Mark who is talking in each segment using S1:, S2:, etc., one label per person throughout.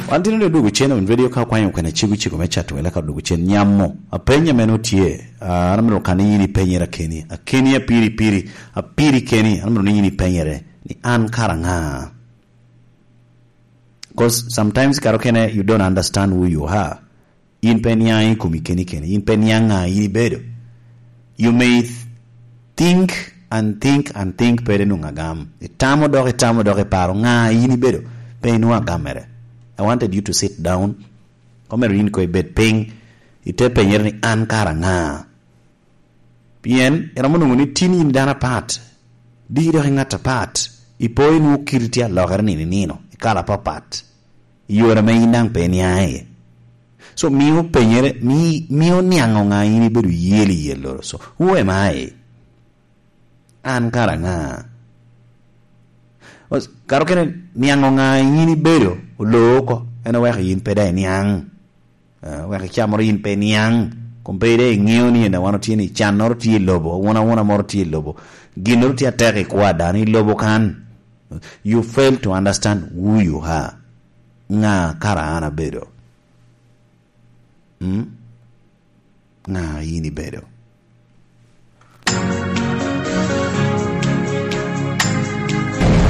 S1: Wan tino ni odwogo cen owin radio ka okwanyo kwena cego cego me cato wele ka odwogo cen nyamo apenya meno tye an amito ka ni in ipenyere akeni akeni apiri piri apiri keni an amito ni in ipenyere ni an kara anga cause sometimes kare okene you don't understand who you are In pe iniang i komi keni keni. In pe iniang nga in ibedo. You may think and think and think pe inongo agam. Itamo dok itamo dok iparo nga in ibedo pe inongo agam mere. I wanted you to sit down omyero in ko ibed piny ite penyere ni an kara anga? Pien iromo nongo ni tin in dano apat, diki dok ingat apat, ipo inongo kiti tye alokere nino inino, ikala apapat. I yore ma in dang pe iniang iye. So miyo penyere, miyo niango nga in ibedo yel i yel loro. So who am I? An kara anga? Kare okene niango nga in ibedo oloo oko en oweko in pe dang iniang. Weko i ca moro in pe iniang. Kom pe dong ingeyo ni ena wan otye ni can moro tye i lobo, awuna moro tye i lobo, gin moro tye atek i kwo ada ni lobo kan. You fail to understand who you are. Nga kara an abedo? Hmm? Nga in ibedo?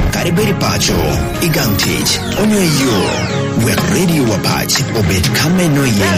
S2: Kadi bed i paco, i gang tic, onyo i yo, wek radio wa pac obed ka ma inongo iye.